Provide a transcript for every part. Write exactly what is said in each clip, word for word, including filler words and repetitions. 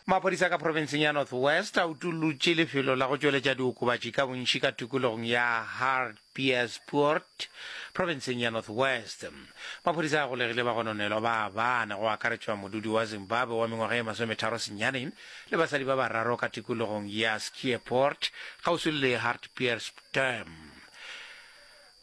Maphodisa ka profenseng ya North West a utollotše lefelo la go tšweletša diokobatši ka bontši ka tikologong ya Hartbeespoort profenseng ya North West. Maphodisa a golegile bagononelwa ba bane go akaretšwa modudi wa Zimbabwe wa mengwaga ye masometharo senyane le basadi ba bararo ka tikologong ya Skeerpoort kgauswi le Hartbeespoort.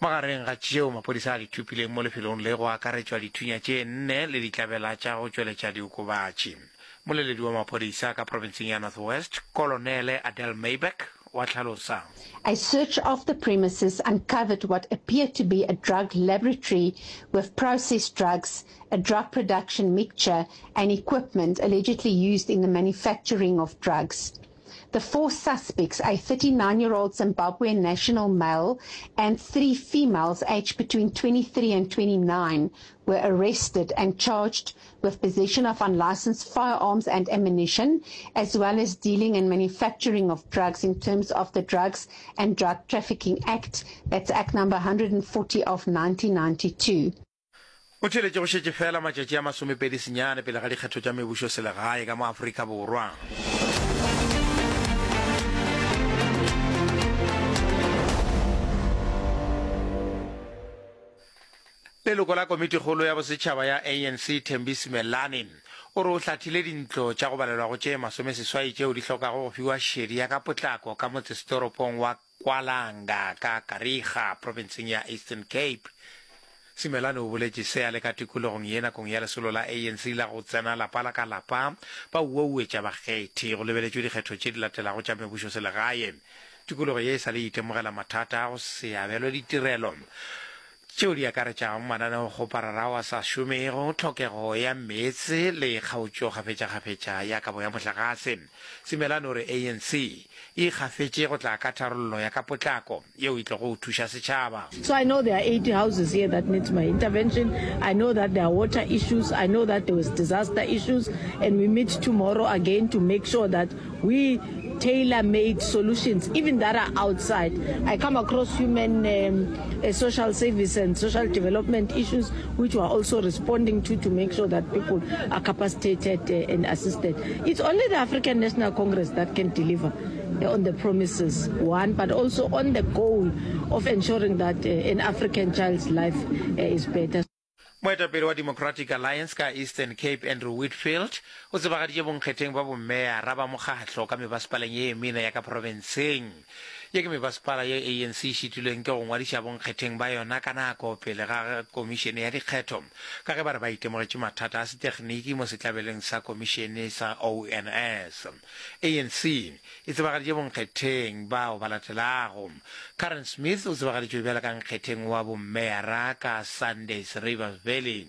Magareng ga tšeo maphodisa a di thopileng mo lefelong le go akaretšwa dithunya tše nne le ditlabela tša go tšweletša diokobatši. Moleledi wa maphodisa ka profenseng ya North West, Kolonele Adele Myburgh wa hlalosa. A search of the premises uncovered what appeared to be a drug laboratory with processed drugs, a drug production mixture and equipment allegedly used in the manufacturing of drugs. The four suspects, a thirty-nine-year-old Zimbabwean national male and three females aged between twenty-three and twenty-nine, were arrested and charged with possession of unlicensed firearms and ammunition, as well as dealing and manufacturing of drugs in terms of the Drugs and Drug Trafficking Act, that's Act number hundred and forty of nineteen ninety-two. O tšweletše go šetše fela matšatši a masomepedi senyane pele ga dikgetho tša mebušoselegae ka mo Afrika Borwa. Leloko la Komitikgolo ya Bosetšhaba ya A N C Thembi Simelane o re o hlathile dintlo tša go balelwago tše masomeseswai tšeo di hlokago go fiwa šedi ya ka potlako ka motsesetoropong wa KwaLanga ka Kariega profenseng ya Eastern Cape. Simelane o boletše se a le ka tikologong ye nakong ya lesolo la A N C la go tsena lapa la ka lapa ba uauetša bakgethi go lebeletšwe dikgetho tše di latelago tša mebušoselegae. Tikologo ye e sa le itemogela mathata a go se abelwe ditirelo tšeo di akaretšago mananeokgoparara ao a sa šomego, tlhokego ya meetse le kgaotšo kgafetšakgafetša ya kabo ya mohlagase. Simelane o re A N C e ikgafetše go tla ka tharollo ya ka potlako yeo e tlogo thuša setšhaba. So I know there are eighty houses here that needs my intervention. I know that there are water issues. I know that there was disaster issues, and we meet tomorrow again to make sure that we tailor-made solutions, even that are outside. I come across human, um, uh, social service and social development issues, which we are also responding to, to make sure that people are capacitated, uh, and assisted. It's only the African National Congress that can deliver, uh, on the promises, one, but also on the goal of ensuring that, uh, an African child's life, uh, is better. Moetapele wa Democratic Alliance ka Eastern Cape Andrew Whitfield o tsebagaditše bonkgetheng ba bommeyara ba mokgahlo ka mebasepaleng ye mene ya ka profenseng. Ye ke mebasepala ye A N C e šitilweng ke go ngwadiša bonkgetheng ba yona ka nako pele ga komišene ya dikgetho, ka ge ba re ba itemogetše mathata a setegniki mo setlabeleng sa komišene sa O N S. A N C e tsebagaditše bonkgetheng bao ba latelago. Karen Smith o tsebagaditšwe bjalo ka nkgetheng wa bommeyara ka Sundays River Valley.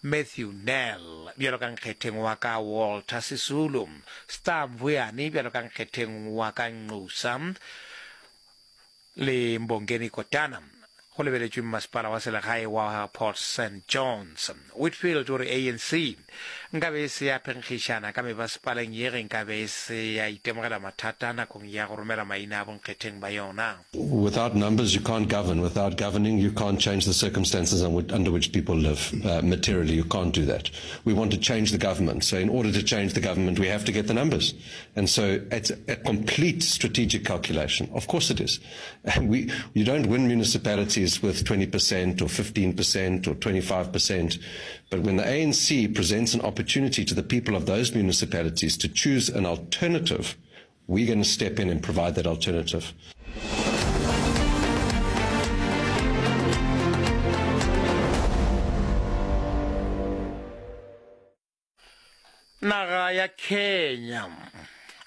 Matthew Nell bjalo ka nkgetheng wa ka Walter Sisulu. Star Mvuyane bjalo ka nkgetheng wa ka Nxusa le Mbongeni Kotana. Go lebeletšwe mmasepala wa selegae wa Port Saint Johns. Whitfield o re A N C nkabe e se ya phenkgišana ka mebasepaleng ye ge nkabe e se ya itemogela mathata nakong ya go romela maina a bonkgetheng ba yona. Without numbers you can't govern. Without governing you can't change the circumstances under which people live. Uh, materially you can't do that. We want to change the government. So in order to change the government we have to get the numbers. And so it's a complete strategic calculation. Of course it is. And we, you don't win municipalities with twenty percent or fifteen percent or twenty-five percent. But when the A N C presents an opportunity to the people of those municipalities to choose an alternative, we're gonna step in and provide that alternative. Naga ya Kenya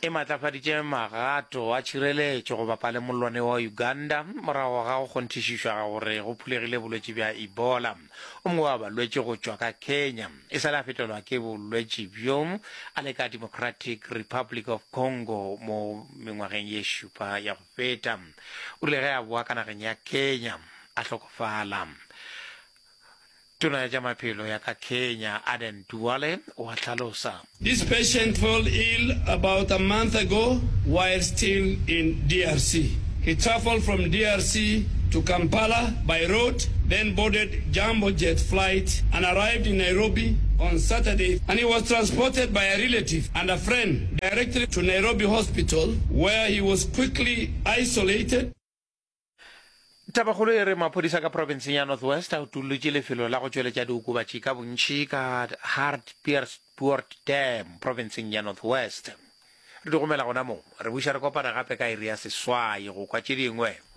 e matlafaditše magato a tšhireletšo go bapa le mollwane wa Uganda morago ga go kgonthišišwa gore go phulegile bolwetši bja Ebola. O mongwe wa balwetši go tšwa ka Kenya e sa le a fetelwa ke bolwetši bjo a le ka Democratic Republic of Congo mo mengwageng ye šupa ya go feta. O rile ge a boa ka nageng ya Kenya a hlokofala. Tona ya tša maphelo ya ka Kenya, Aden Duale, o a hlalosa. This patient fell ill about a month ago while still in D R C. He traveled from D R C to Kampala by road, then boarded Jambo Jet flight and arrived in Nairobi on Saturday and he was transported by a relative and a friend directly to Nairobi Hospital where he was quickly isolated. Tabakgolo e re maphodisa ka profenseng ya North West a utollotše lefelo la go tšweletša diokobatši ka bontši ka Hartbeespoort Dam profenseng ya North West. Re di gomela gona mo, re buša re kopana gape ka iri ya seswai go kwa tše dingwe.